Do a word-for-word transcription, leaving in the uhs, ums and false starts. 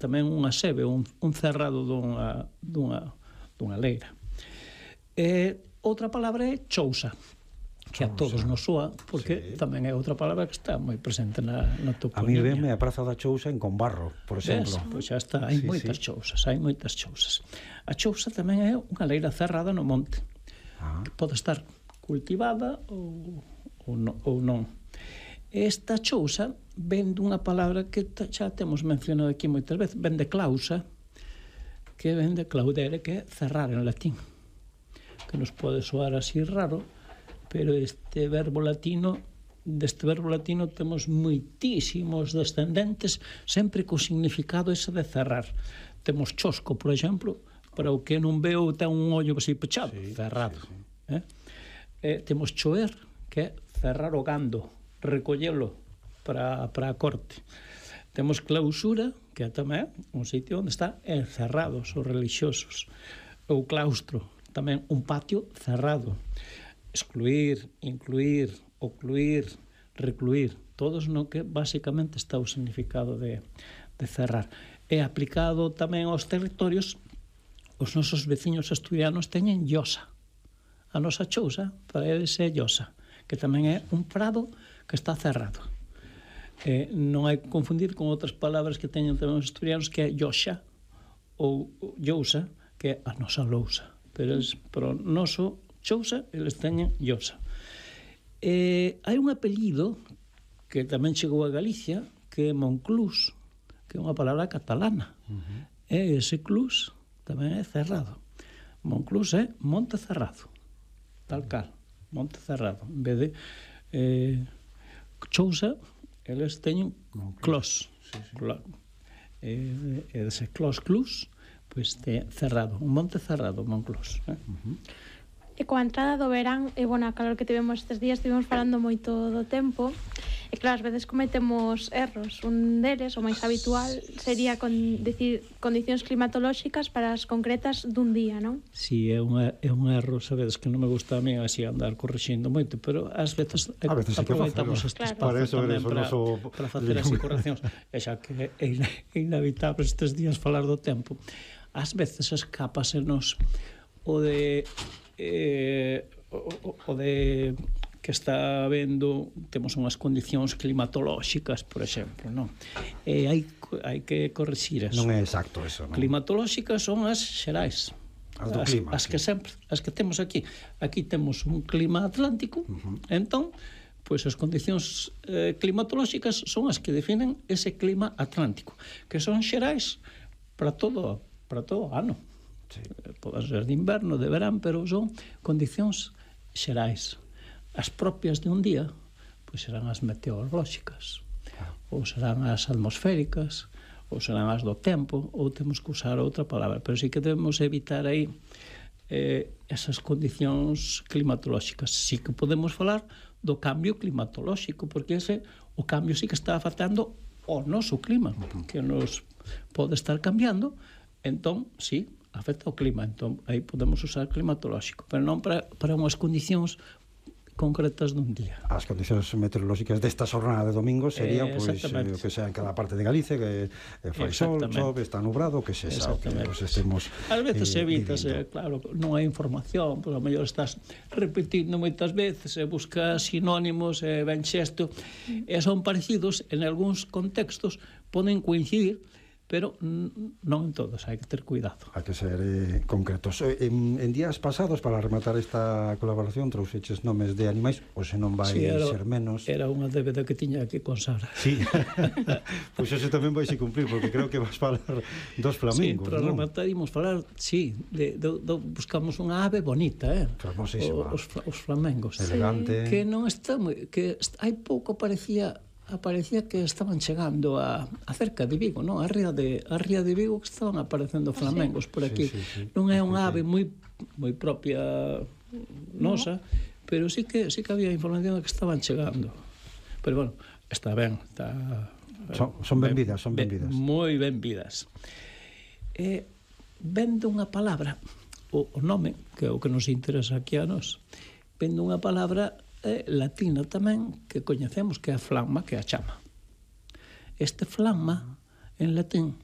tamén unha sebe, un, un cerrado dunha, dunha, dunha leira. E outra palabra é chousa, que a todos nos soa, porque sí. tamén é outra palabra que está moi presente na, na toponimia. A mí venme a Praza da Chousa en Combarro, por exemplo. Ves? Pois xa está, hai sí, moitas sí. chousas, hai moitas chousas. A chousa tamén é unha leira cerrada no monte, ah. que pode estar cultivada ou, ou, no, ou non. Esta chousa ven dunha palabra que xa temos mencionado aquí moitas veces, ven de clausa, que ven de claudere, que é cerrar en latín, que nos pode soar así raro, pero este verbo latino, deste verbo latino temos moitísimos descendentes, sempre co significado ese de cerrar. Temos chosco, por exemplo, para o que non veo ten un ollo así pechado, sí, cerrado. Sí, sí. Eh? Eh, temos choer, que é cerrar o gando, recollelo para, para a corte. Temos clausura, que é tamén un sitio onde están encerrados os religiosos. O claustro, tamén un patio cerrado. Excluir, incluir, ocluir, recluir, todos no que basicamente está o significado de, de cerrar. É aplicado tamén aos territorios. Os nosos veciños asturianos teñen llosa. A nosa chousa para eles é llosa, que tamén é un prado que está cerrado. Eh, non hai que confundir con outras palabras que teñen tamén os asturianos, que é lloxa ou llousa, que é a nosa lousa. Pero es, para o noso chousa, eles teñen llosa. Eh, hai un apelido que tamén chegou a Galicia, que é Monclús, que é unha palabra catalana. Uh-huh. E ese clus tamén é cerrado. Monclús é monte cerrado, tal cal, monte cerrado. En vez de eh, chousa, eles teñen clos. Sí, sí. E eh, ese clos clus, pois pues, cerrado, un monte cerrado, Monclús. Eh? Uh-huh. E coa entrada do verán, e bueno, a calor que tivemos estes días, estivemos falando moito do tempo, e claro, ás veces cometemos erros. Un deles, o máis habitual, sería con, decir, condicións climatolóxicas para as concretas dun día, non? Si, sí, é, unha, é un erro, sabedes, que non me gusta a mí así andar corrixindo moito, pero ás veces, a veces aproveitamos este claro. espacio eso, tamén eso, para, noso... para facer así correccións. E xa que é inevitable estes días falar do tempo. Ás veces escápasenos o de... Eh, o, o de que está habendo, temos unhas condicións climatolóxicas, por exemplo, non? E hai, hai que corrixir eso. Non é exacto eso, non? Climatolóxicas son as xerais, as do as, clima, as sí. que sempre, as que temos aquí. Aquí temos un clima atlántico, uh-huh. entón, pois as condicións eh, climatolóxicas son as que definen ese clima atlántico, que son xerais para todo, para todo o ano. Sí. Pode ser de inverno, de verán, pero son condicións xerais. As propias de un día, pois serán as meteorolóxicas, ah. ou serán as atmosféricas, ou serán as do tempo, ou temos que usar outra palabra, pero sí que debemos evitar aí eh, esas condicións climatolóxicas. Sí que podemos falar do cambio climatolóxico, porque ese, o cambio sí que está afectando o noso clima, que nos pode estar cambiando, entón, sí, afecta o clima, entón aí podemos usar climatolóxico, pero non para, para unhas condicións concretas dun día. As condicións meteorolóxicas desta xornada de domingo serían, eh, pois, eh, o que sea en cada parte de Galicia, que eh, fai sol, chove, está nubrado, que se xa, que pues, estemos... Ás veces eh, evitas, eh, claro, non hai información, pois a mellor estás repetindo moitas veces, e buscas sinónimos, e ben xesto, e son parecidos, en algúns contextos poden coincidir, pero non en todos, hai que ter cuidado. Hai que ser eh, concretos. En, en días pasados, para rematar esta colaboración, trouxeches nomes de animais, ou se non vai sí, era, ser menos... Era unha débeda que tiña que con Sara. Sí, pois pues eso tamén vai se cumplir, porque creo que vas falar dos flamingos, sí, para non? rematar imos falar, sí, de, de, de, buscamos unha ave bonita, eh? Famosísima. Os, os flamengos. Elegante. Que non está moi... que hai pouco parecía... aparecía que estaban chegando a, a cerca de Vigo, non? A ría de, a ría de Vigo que estaban aparecendo flamengos por aquí. Sí, sí, sí. Non é unha ave moi moi propia nosa, no. pero sí que sí que había información de que estaban chegando. Pero bueno, está ben, está son, son ben vidas, son ben vidas. Moi ben vidas. Eh, vendo unha palabra, o, o nome, que é o que nos interesa aquí a nós, vendo unha palabra eh, latina tamén que coñecemos, que é a flamma, que é a chama. Este flamma en latín